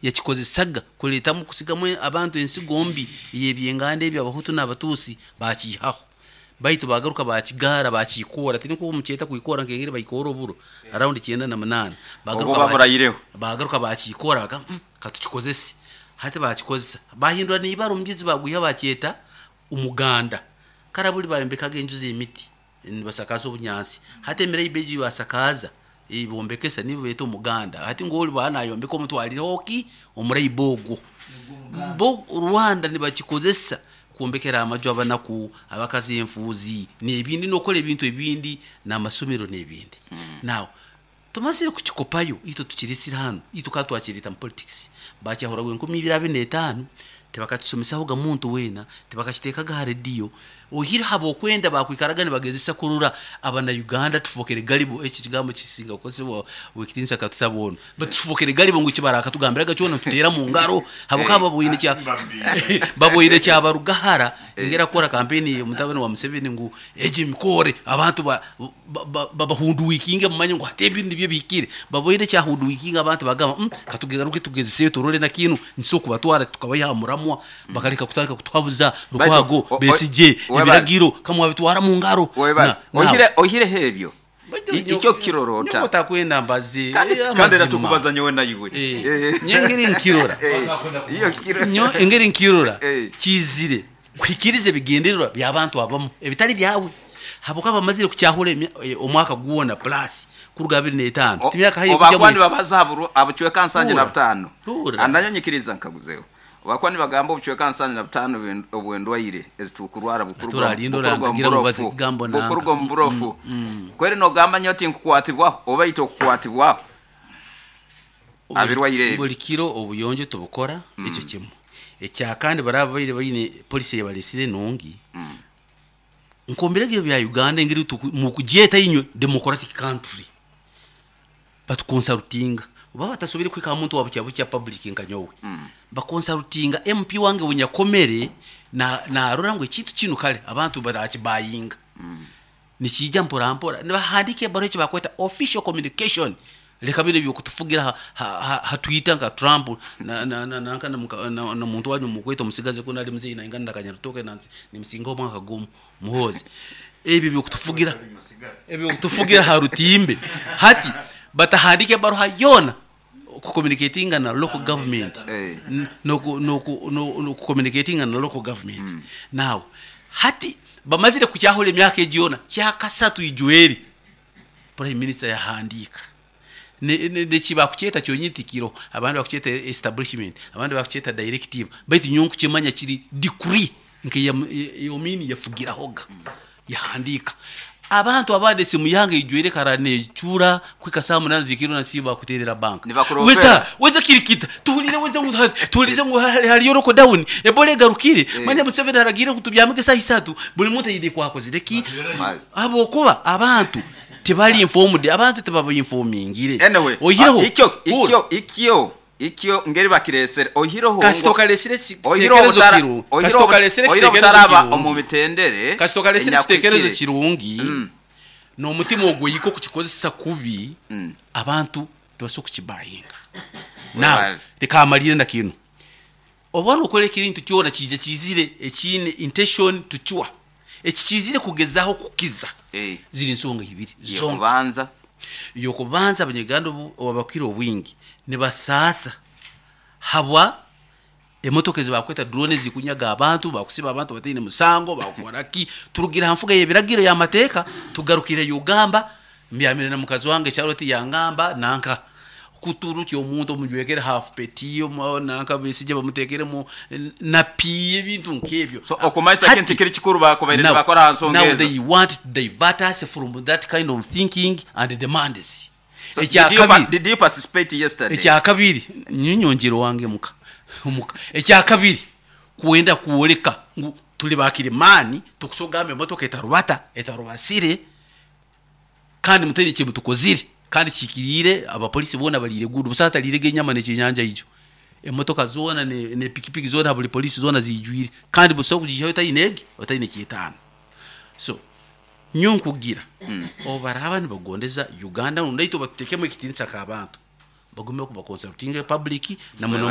Yakikozesaga kuleetamu kusigamu abantu ensigo mbi ey'ebyenganda ebi Abahutu n'Abatuusi baakiihaho. Baitu baagaruka baakigaara baakiikoora, tinikwo mukyeta kwikoora nk'engeri baikoora oburo around 98. Obwo Baagaruka baburaireho. Baagaruka baakiikoora bagamba katukikozese. Hati baakikozesa baahindura n'ibara omugezi baagwiha baakyeta Omuganda. Kara buli bayombekaga enju z'emiti nibasakaaza obunyansi. Hati emiraiba egi basakaaza bombekesa nibo beeta Omuganda. Hati ngu oli bwaba nayombeka omutwalireho ki? Omuraiba ogwo. Bo Rwanda nibakikozesa kwombekera amaju abanaku, abakazi enfuuzi n'ebindi n'okukora ebintu ebindi n'amasomero n'ebindi. Now tumazire kukikopayo itwe tukiresire hanu, itwe kandi twakireeta mu politics. Bakyahuraga 2025, tibakakisomesahoga muntu weena, tibakakiteekaga ha rediyo, oihireho ab'okwenda baakwikaraga nibagezesa kurora abana-Uganda tufokere galibo, eki ekigambo kisinga kukozesebwa ow'ekitiinisa Katusaba onu, baitu tufokere galibo ngu eki barakatugambiraga kyona nituteera mu ngaro habwokuba baboine kya baboine kyabaruga hara engeri akukora kampeyini mutabani wa Museveni ngu egi emikoore abantu babahunduwikinge mumanye ngu hati ebi nibyo bihikire. Baboine ekyahunduwikinga abantu bagamba katugaruke tugezeseyo turole na kinu nikisobora kubatwara tukabaiha aha muramwa bakaleka kutandika kutuhabuza Lukwago, Besigye, ebiragiro kamwabitwara mu ngaro. Webale. Oihireho ebyo, ikyo okukirora ota? Nyowe otakwenda mbaze Kandi era amazima. tukubaza nyowe naiwe. Nyowe engeri nkirora, nyowe engeri nkirora kiizire kuhikiriza ebigendererwa by'abantu abamu ebitali byawe habwokuba bamazire kukyahura omwaka gwona plus kuruga 25 timyaka haihi Obu kugya bakuba mu nibabaza aha bucweka nsanju na Hurra, butaano, hurra. nanyowe nyikiriza nkaguzeho. Obu bakuba nibagamba obucweka 75 obw'endwaire ezitukurwara Turalinda orandagira ngu obaze ekigambo nanka. bukuruga omu burofu, kweri nogamba nyowe tinkukwatibwaho oba itwe okukwatibwaho aha birwaire ebi. Buri kiro obuyonjo tubukora, ekyo kimwe. Ekya kandi baraba babaire baine policy ei baresire enungi, nk'omu biragiro bya Uganda engeri mukugyeta inywe democratic country, batukonsarutinga. Baba batasoboire kuhika aha muntu wa bukya bukya public nka nyowe, bakonsarutinga MP wange ou nyakomere narora ngu ekintu kinu kare abantu barakibayinga. Nikiija mpora mpora. Nibahandiika ebaruha eki barikweta official communication. Reka binu eby'okutufugira ha Twitter nka Trump nanka na muntu wanyu mukweta omusigazi kunu ari muzeeyi naingana na Kanyarutoke nimusingaho omwaka gumu Muhoozi. Ebyo eby'okutufugira eby'okutufugira ha rutimbe. Hati batahandiika ebaruha yoona kucommunicatinga na local government n'okucommunicatinga na local government. Now hati bamazire kukyahura emyaka egi yoona, kyakasatu ijweri Prime Minister yahandiika. Neki bakukyeta kyonyini tikiroho, abandi bakukyeta establishment, abandi bakukyeta directive, baitu nyowe nkukimanya kiri decree nk'eya Amin yafugirahoga yahandiika. Abantu abandi esimu yange eijwire kara necura kuhika saaha munaana z'ekiro nasiiba bakuteerera banka. Nibakuroopera. Weza weza kirikita tuhuriire weza ngu tuhuriize ngu hariyo lockdown, Ebola egarukire, manya Museveni aragiire ngu tubyamege saaha isatu, buri muntu aine ku akozire ki? Ahabw'okuba abantu tibari informed, abantu tibabainfomingire. Anyway, Oihireho, ikyo hurra. ikyo ikyo ikyo ngeri bakireesere oihireho Kasita ngu okareesire oihireho ekitekerezo obutara kirungi, oihireho kasita okareesire oihireho ekitekerezo obutaraba omu kirungi, mitendere kasita okareesire ekitekerezo enyakuhikire. kirungi n'omutima ogw'oika okukikozesa kubi, abantu tibasobola kukibayinga. Now, Webale. leka mmalirre na kinu. Oba nokora ekintu kyona kiija kiizire ekiine intention to cure. Eki kiizire kugezaho kukiza. Ziri nsonga ibiri zonka. Ey'okubanza. Ey'okubanza Abanyaganda abakukira obwingi nibasaasa habwa emotoka ezi bakweta drone ezikunyaga abantu, bakusiba abantu bataine musango, bakukora ki. Turugire ha nfuga y'ebiragiro y'amateeka tugarukire Ugamba Mbyamire na mukazi wange Charlotte yangamba nanka kuturukya omuntu omujwekere half peti nanka Besigye bamutekeremu napi ebintu nk'ebyo. So okumanyisa kintu Hati tikiri kikuru bakubaire now, nibakora aha nsonga now ezo. they want to divert us from that kind of thinking and demands. So did you, pa- Ekyakabiri, did you participate yesterday? ekyakabiri nyongyere owange muka omuka. Ekyakabiri kwenda kwoleka ngu turi ba kirimaani tukusobola kugamba emotoka etarubata etarubasire Kandi mutaine eki mutukozire, kandi kihikiriire, abapolisi boona bariire guudu, busaho atariirege enyama n'ekyenyanja ijo. Emotoka zoona n'epikipiki zoona buri polisi zoona ziijwire, kandi busaho kugiihayo otaine egi, otaine ky'etaano. So, nyowe nkugira, obu baraaba nibagondeza Uganda rundi naitwe batuteekemu ekitiinisa nk'abantu. Bagume bakonsultinge public na muno.